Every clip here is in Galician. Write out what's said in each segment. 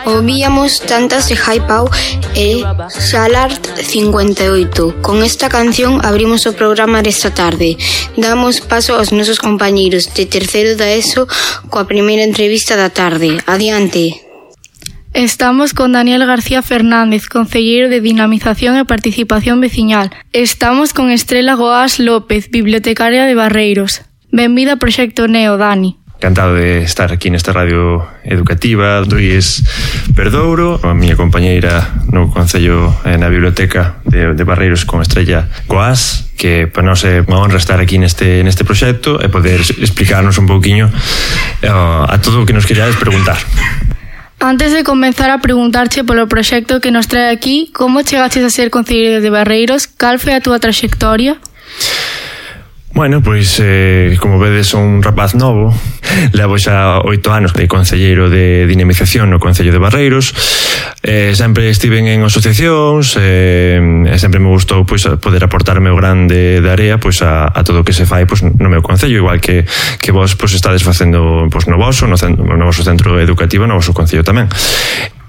Ouvíamos Tantas de Jai Pau e Xalart 58. Con esta canción abrimos o programa desta tarde. Damos paso aos nosos compañeiros de terceiro da ESO coa primeira entrevista da tarde. Adiante. Estamos con Daniel García Fernández, concelleiro de Dinamización e Participación Veciñal. Estamos con Estrela Goás López, bibliotecaria de Barreiros. Benvida ao Proxecto Neo, Dani. Encantado de estar aquí nesta radio educativa do IES Perdouro, a miña compañeira no Concello na Biblioteca de Barreiros con Estrella Goás, que para nós é unha honra estar aquí neste proxecto e poder explicarnos un pouquiño a todo o que nos queríades preguntar. Antes de comenzar a preguntarche polo proxecto que nos trae aquí, como chegaches a ser concelleiro de Barreiros? Cal foi a túa traxectoria? Bueno, pois, como vedes, son un rapaz novo. Levo xa 8 anos de concelleiro de dinamización no Concello de Barreiros. Sempre estiven en asociacións e sempre me gustou pois poder aportar o meu grande de area pois a todo o que se fai pois no meu concello, igual que vos pois estades facendo pois no voso centro educativo, no voso concello tamén.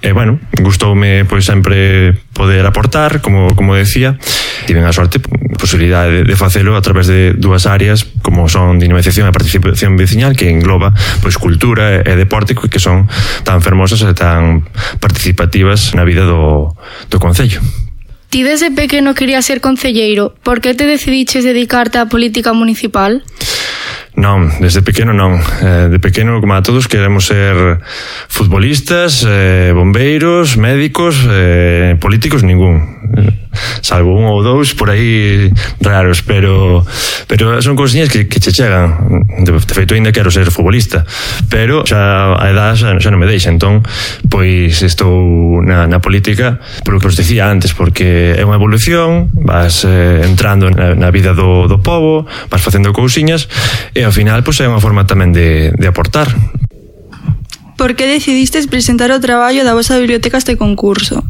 E, bueno, gustoume pois sempre poder aportar, como decía. Tiven a sorte, posibilidade de facelo a través de dúas áreas, como son dinamización e participación veciñal, que engloba pois cultura e deporte, que son tan fermosas e tan participativas na vida do concello. Ti desde pequeno querías ser concelleiro. Por que te decidiches dedicarte á política municipal? Non, desde pequeno non. De pequeno, como a todos, queremos ser futbolistas, bombeiros, médicos, políticos, ningún. Salvo un ou dous por aí raros, pero son cousiñas que che chegan. De feito, ainda quero ser futbolista, pero xa a edad xa non me deixa. Entón, pois estou na política polo que os decía antes, porque é unha evolución, vas entrando na vida do pobo, vas facendo cousiñas e ao final pois é unha forma tamén de aportar. Por que decidistes presentar o traballo da vosa biblioteca a este concurso?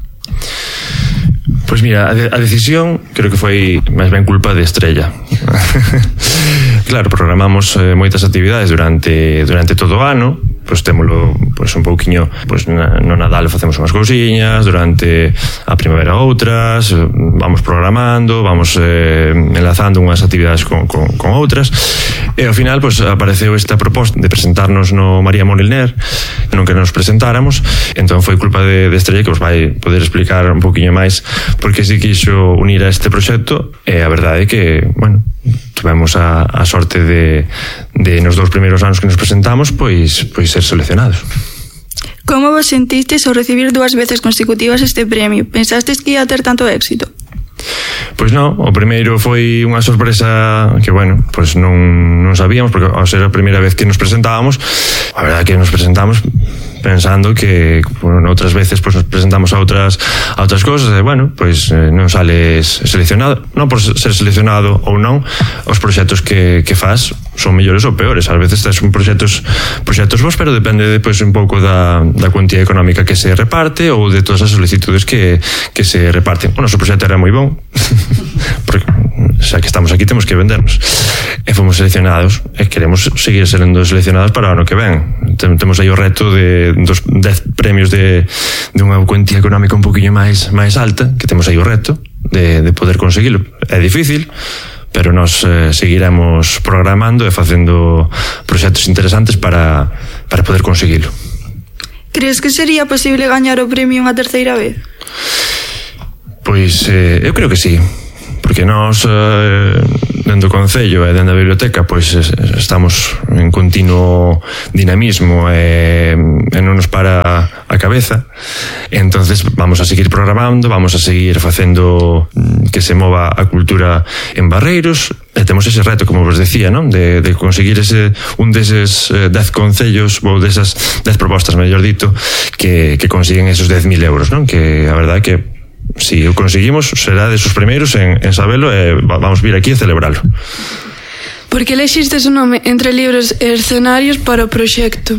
Pois mira, a decisión creo que foi máis ben culpa de Estrella. Claro, programamos moitas actividades durante todo o ano. Pois témolo pois un pouquiño, pois no Nadal facemos unhas cousiñas, durante a primavera outras, vamos programando, vamos enlazando unhas actividades con outras, e ao final pois apareceu esta proposta de presentarnos no María Moliner, non que nos presentáramos. Entón foi culpa de Estrella, que vos vai poder explicar un pouquiño máis porque se quixo unir a este proxecto, e a verdade é que, bueno, tuvemos a sorte de nos 2 primeiros anos que nos presentamos pois ser seleccionados. Como vos sentistes ao recibir 2 veces consecutivas este premio? Pensastes que ia ter tanto éxito? Pois non, o primeiro foi unha sorpresa que, bueno, pois non sabíamos, porque ao ser a primeira vez que nos presentábamos, a verdade que nos presentamos pensando que, bueno, outras veces pois nos presentamos a outras cousas e, bueno, pois non sales seleccionado. Non por ser seleccionado ou non, os proxectos que faz son mellores ou peores. Ás veces tes proxectos vos, pero depende depois un pouco da cuantía económica que se reparte ou de todas as solicitudes que se reparten. O noso proxecto era moi bon, porque xa que estamos aquí temos que vendernos. E fomos seleccionados e queremos seguir sendo seleccionados para o ano que ven. Temos aí o reto de 10 premios de unha cuantía económica un poquinho máis alta, que temos aí o reto de poder conseguilo. É difícil, pero nós seguiremos programando e facendo proxectos interesantes para poder conseguilo. Crees que sería posible gañar o premio unha terceira vez? Pois eu creo que sí, porque nós dentro do Concello e dentro da biblioteca pois estamos en continuo dinamismo e non nos para a cabeza. Entonces vamos a seguir programando, vamos a seguir facendo que se mova a cultura en Barreiros, e temos ese reto, como vos decía, non? De conseguir un deses 10 concellos ou desas 10 propostas, mellor dito, que consiguen esos 10.000 euros, non? Que a verdade é que si o conseguimos será de sus primeiros en sabelo e vamos vir aquí a celebralo. Por que elexistes o nome Entre Libros e Escenarios para o proxecto?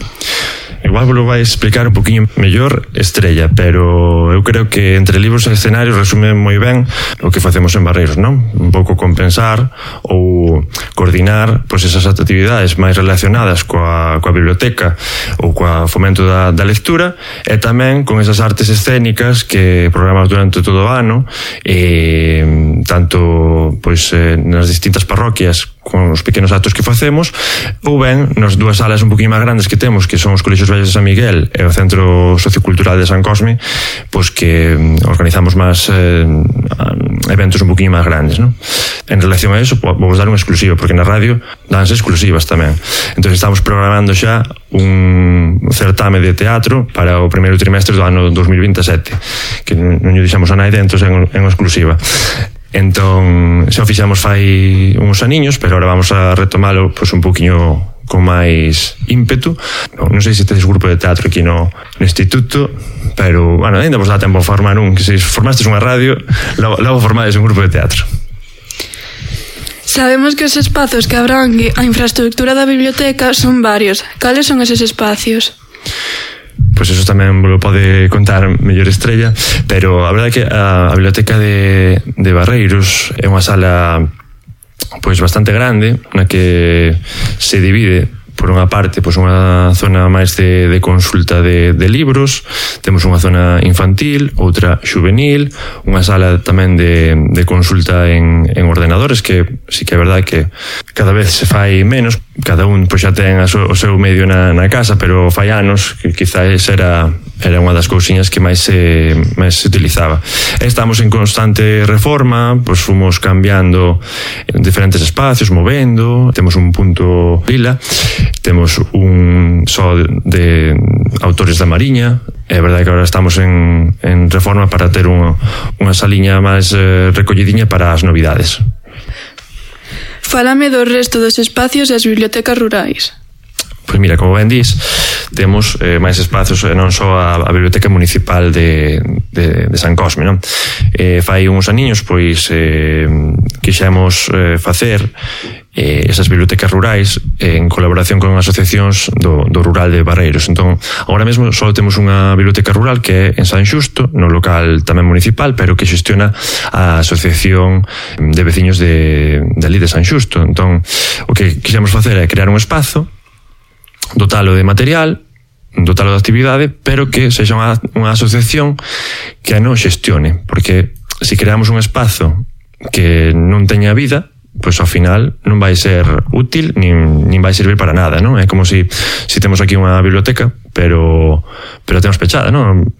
igual vos vai explicar un poquinho mellor Estrella, pero eu creo que entre libros e escenarios resume moi ben o que facemos en Barreiros, non? Un pouco compensar ou coordinar pois esas actividades máis relacionadas coa biblioteca ou coa fomento da lectura, e tamén con esas artes escénicas que programamos durante todo o ano, tanto pois nas distintas parroquias con os pequenos actos que facemos, ou ben nas dúas salas un poquinho máis grandes que temos, que son os Colexios Vellos de San Miguel e o Centro Sociocultural de San Cosme, pois que organizamos máis eventos un poquinho máis grandes, non? En relación a eso, vamos dar un exclusivo, porque na radio danse exclusivas tamén. Entón estamos programando xa un certame de teatro para o primeiro trimestre do ano 2027, que non lle dixamos a naide, entón en exclusiva. Entón, xa o fixamos fai uns aniños, pero agora vamos a retomalo pois un poquinho con máis ímpetu. Non sei se tedes grupo de teatro aquí no instituto, pero, bueno, ainda vos dá tempo a formar un, que se formastes unha radio, logo formades un grupo de teatro. Sabemos que os espazos que abrangue a infraestructura da biblioteca son varios. Cales son eses espacios? Pois eso tamén vos lo pode contar mellor Estrella, pero a verdade é que a biblioteca de Barreiros é unha sala pois bastante grande, na que se divide por unha parte pois unha zona máis de consulta de libros, temos unha zona infantil, outra xuvenil, unha sala tamén de consulta en ordenadores, que sí que é verdade que cada vez se fai menos, cada un pois xa ten o seu medio na casa, pero fai anos que quizás era unha das cousiñas que máis se utilizaba. Estamos en constante reforma, pois fomos cambiando diferentes espacios, movendo, temos un punto lila, temos un só de autores da Mariña. É verdade que agora estamos en reforma para ter unha saliña máis recollidiña para as novidades. Fálame do resto dos espacios e as bibliotecas rurais. Pois mira, como ben dís, temos máis espacios, non só a Biblioteca Municipal de San Cosme, non? Fai uns aniños, pois, quixemos facer esas bibliotecas rurais en colaboración con asociacións do rural de Barreiros. Entón, agora mesmo só temos unha biblioteca rural que é en San Xusto, no local tamén municipal, pero que xestiona a asociación de veciños de ali de San Xusto. Entón, o que quixemos facer é crear un espazo, dotalo de material, dotalo de actividade, pero que sexa unha asociación que a non xestione, porque se creamos un espazo que non teña vida, pois ao final non vai ser útil nin vai servir para nada, non? É como se temos aquí unha biblioteca, pero temos pechada, non?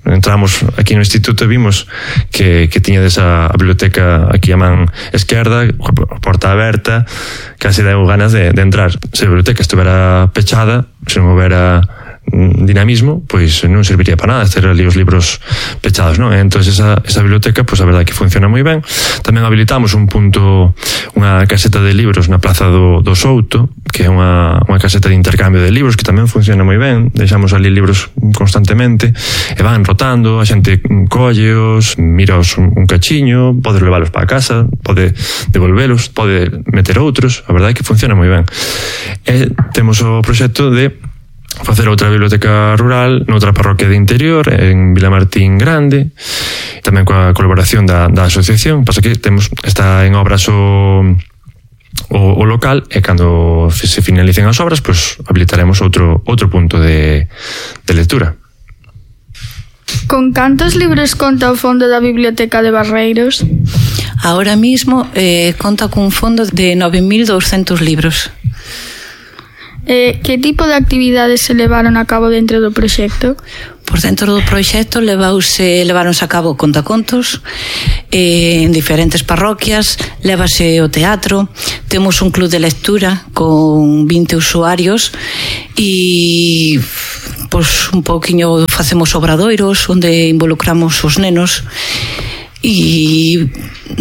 Entramos aquí no instituto e vimos que tiña desa biblioteca aquí a man esquerda, a porta aberta, casi deu ganas de entrar. Se a biblioteca estuvera pechada, se non houbera dinamismo, pois non serviría para nada ter ali os libros pechados, non? Entón esa biblioteca, pois a verdade que funciona moi ben. Tamén habilitamos un punto, unha caseta de libros na Plaza do Souto, que é unha caseta de intercambio de libros que tamén funciona moi ben. Deixamos ali libros constantemente e van rotando, a xente colleos, miraos un cachiño, pode leválos para a casa, pode devolvelos, pode meter outros. A verdade que funciona moi ben. E temos o proxecto de facer outra biblioteca rural noutra parroquia de interior, en Vilamartín Grande, tamén coa colaboración da asociación. Pasa que está en obras o local, e cando se finalicen as obras, pois habilitaremos outro punto de lectura. Con cantos libros conta o fondo da Biblioteca de Barreiros? Ahora mismo conta cun fondo de 9.200 libros. Que tipo de actividades se levaron a cabo dentro do proxecto? Por dentro do proxecto leváronse a cabo contacontos en diferentes parroquias, lévase o teatro, temos un club de lectura con 20 usuarios e pois un pouquiño facemos obradoiros onde involucramos os nenos e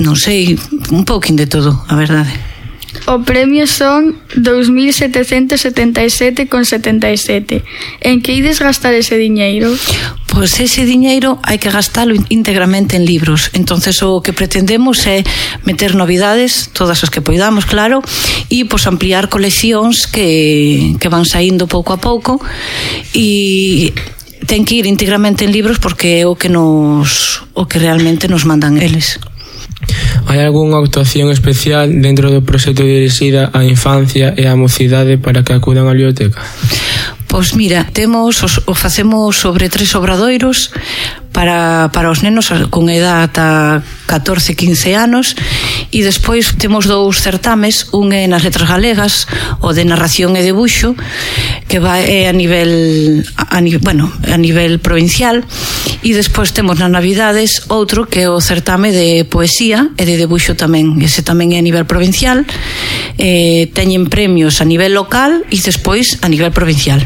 non sei, un pouquín de todo, a verdade. O premio son 2.777,77. En que ides gastar ese diñeiro? Pois ese diñeiro hai que gastalo íntegramente en libros. Entonces o que pretendemos é meter novidades, todas as que poidamos, claro, e pois ampliar coleccións que van saindo pouco a pouco, e ten que ir íntegramente en libros porque é o que realmente nos mandan eles. Hai algunha actuación especial dentro do proxecto dirixida á infancia e á mocidade para que acudan á biblioteca? Pois mira, facemos sobre 3 obradoiros para os nenos con edad ata 14-15 anos, e despois temos 2 certames, un é nas letras galegas, o de narración e debuxo, que é a nivel provincial, e despois temos nas Navidades outro que é o certame de poesía e de debuxo tamén, ese tamén é a nivel provincial, teñen premios a nivel local e despois a nivel provincial.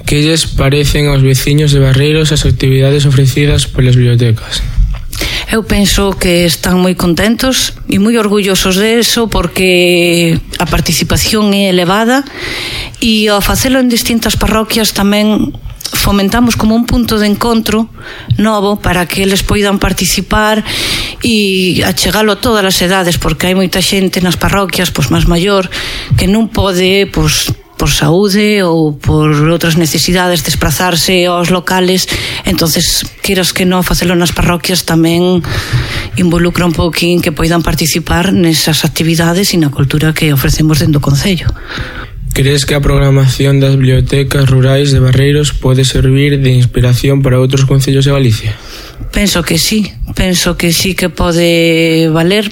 Que lles parecen aos veciños de Barreiros as actividades ofrecidas polas bibliotecas? Eu penso que están moi contentos e moi orgullosos de eso, porque a participación é elevada, e ao facelo en distintas parroquias tamén fomentamos como un punto de encontro novo para que eles poidan participar e achegalo a todas as edades, porque hai moita xente nas parroquias máis maior que non pode por saúde ou por outras necesidades desplazarse aos locales. Entonces, queiras que non, facelo nas parroquias tamén involucra un pouquín que poidan participar nesas actividades e na cultura que ofrecemos dentro do concello. Crees que a programación das bibliotecas rurais de Barreiros pode servir de inspiración para outros concellos de Galicia? Penso que sí que pode valer,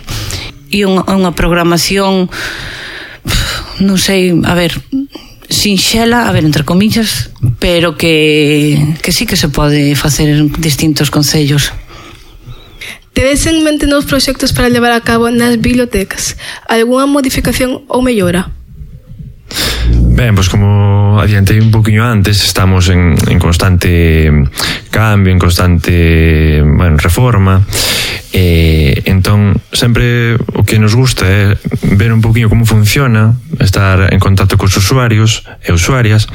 e unha programación, non sei, sinxela, entre comillas, pero que sí que se pode facer en distintos concellos. Tedes en mente novos proxectos para levar a cabo nas bibliotecas? Algúna modificación ou mellora? Ben, pois como adiantei un poquinho antes, estamos en constante cambio, en constante reforma, entón sempre o que nos gusta é ver un poquinho como funciona, estar en contacto cos usuarios e usuarias,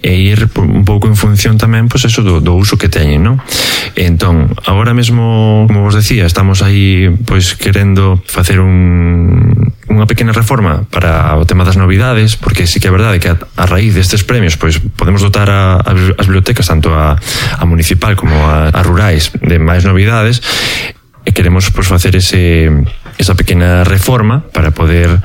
e ir un pouco en función tamén eso do uso que teñen, non? Entón, agora mesmo, como vos decía, estamos aí querendo facer unha pequena reforma para o tema das novidades, porque sí que é verdade que a raíz destes premios podemos dotar as bibliotecas, tanto a municipal como a rurais, de máis novidades, e queremos facer esa pequena reforma para poder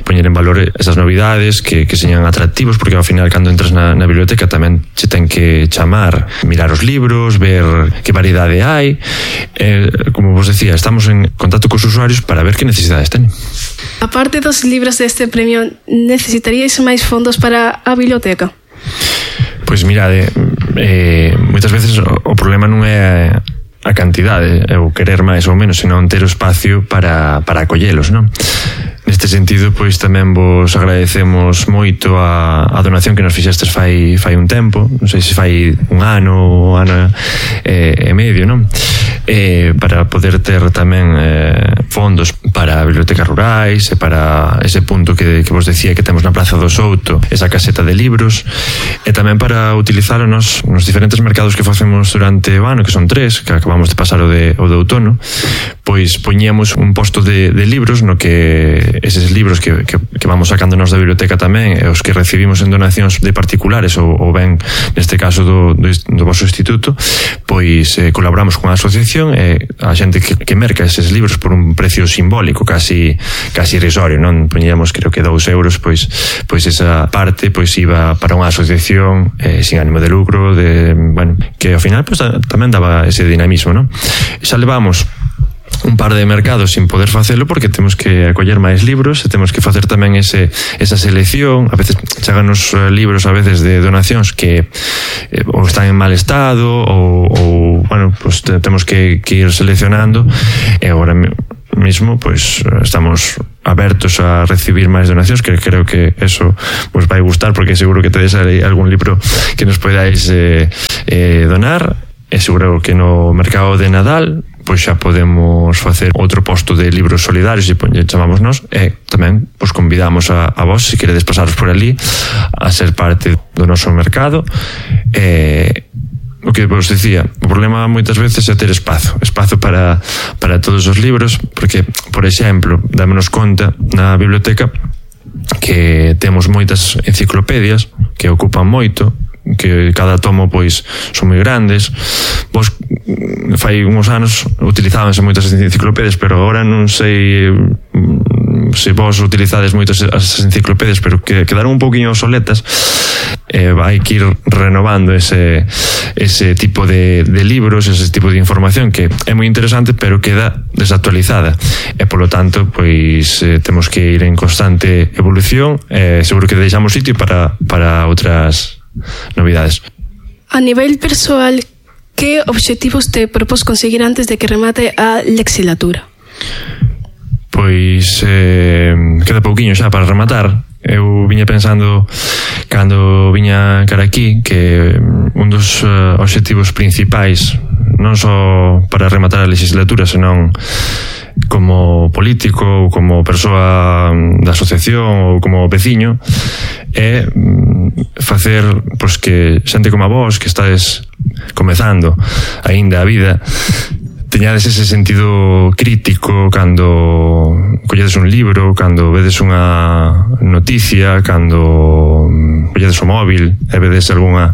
poñer en valor esas novidades que señan atractivos, porque ao final cando entras na biblioteca tamén che ten que chamar, mirar os libros, ver que variedade hai, como vos decía, estamos en contacto cos usuarios para ver que necesidades tenen. A parte dos libros deste premio, necesitaríais máis fondos para a biblioteca? Pois mirade, moitas veces o problema non é a cantidade, ou querer máis ou menos, senón ter o espacio para acollelos, non? Neste sentido, tamén vos agradecemos moito a donación que nos fixestes fai un tempo, non sei se fai un ano e medio, non? Para poder ter tamén fondos para bibliotecas rurais e para ese punto que vos decía que temos na Praza do Souto, esa caseta de libros, e tamén para utilizar nos diferentes mercados que facemos durante o ano, que son 3, que acabamos de pasar o de outono, poñíamos un posto de libros no que eses libros que vamos sacando nos da biblioteca tamén, e os que recibimos en donacións de particulares ou ben neste caso do vosso instituto, colaboramos con a asociación, e a xente que merca eses libros por un precio simbólico, casi irrisorio, non? Poñíamos, creo que 2 euros, esa parte iba para unha asociación sin ánimo de lucro, que ao final tamén daba ese dinamismo, non? Xa levamos un par de mercados sin poder facelo porque temos que acoller máis libros e temos que facer tamén esa selección. A veces cheganos libros a veces de donacións que ou están en mal estado ou temos que ir seleccionando, e agora mismo estamos abertos a recibir máis donacións, que creo que eso vos vai gustar, porque seguro que tedes algún libro que nos podáis donar, e seguro que no mercado de Nadal xa podemos facer outro posto de libros solidarios, e chamamos nós, e tamén convidamos a vos, se queredes pasaros por ali, a ser parte do noso mercado. O que que vos dicía, o problema moitas veces é ter espazo para todos os libros, porque, por exemplo, dámonos conta na biblioteca que temos moitas enciclopedias que ocupan moito, que cada tomo pois son moi grandes. Vos fai uns anos utilizábanse moitas enciclopedias, pero agora non sei se vos utilizades moitas as enciclopedias, pero que quedaron un pouquinho obsoletas. Hai que ir renovando ese tipo de libros, ese tipo de información que é moi interesante, pero queda desactualizada, e polo tanto pois temos que ir en constante evolución. Seguro que deixamos sitio para outras novidades. A nivel persoal, que obxectivos te propós conseguir antes de que remate a legislatura? Pois queda pouquiño xa para rematar. Eu viña pensando cando viña cara aquí que un dos obxectivos principais, non só para rematar a legislatura, senón como político ou como persoa da asociación ou como veciño, é facer pois que xente como a vos, que estades comezando aínda a vida, teñades ese sentido crítico cando colledes un libro, cando vedes unha noticia, cando colledes o móvil e vedes algunha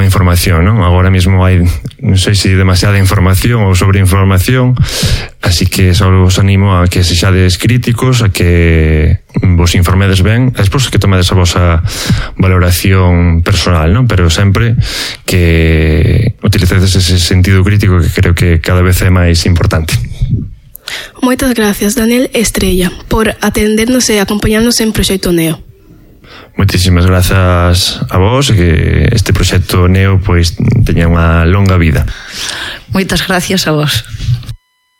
información, non? Agora mesmo hai, non sei se demasiada información ou sobreinformación, así que só vos animo a que sexades críticos, a que vos informedes ben, e despois que tomedes a vosa valoración personal, non? Pero sempre que utilicedes ese sentido crítico que creo que cada vez é máis importante. Moitas gracias, Daniel Estrella, por atendernos e acompañarnos en Proxecto Neo. Moitísimas grazas a vos, e que este proxecto Neo pois teña unha longa vida. Moitas gracias a vos.